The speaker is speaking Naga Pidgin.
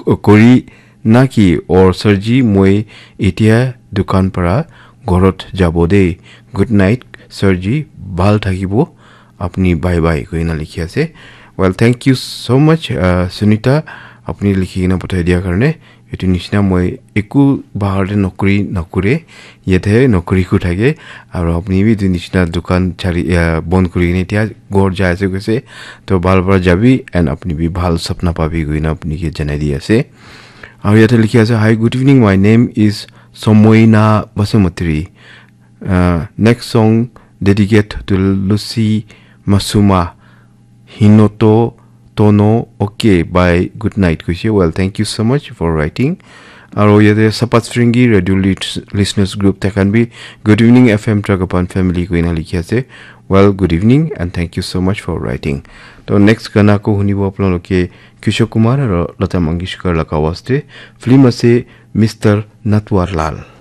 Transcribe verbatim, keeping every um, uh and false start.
kori naki? Or sir ji, moi etia dukan para ghorot jabo de. Good night sir ji, bhal thakibo apni, bye bye, koina likhi ase. Well, thank you so much, uh, Sunita, apni likhi kena pathai dia karne. Etu nishina moi eku bahar te nokri nakure, yate nokri ku thake, aru apni bi etu nishina dukan chari, uh, bon kuri kena etia ghor jai ase koise. To bhal para jabi and apni bi bhal sapna pabi koina apni ke janai di ase. Aru yate likhi ase, "Hi, good evening. My name is Somoina Basumatri. Uh, next song dedicate to Lucy Masuma, Hinoto Tono. Okay, bye, good night," koise. Well, thank you so much for writing. Aru yate Sapat Stringi Radio Lit- Listeners Group, takan bi, "Good evening F M Tragapan family," koina likhi ase. Well, good evening and thank you so much for writing. To next gana ko hunibo apnaloke Kishore Kumar aru Lata Mangeshkar laga awaaz te. Film ase Mister Natwarlal.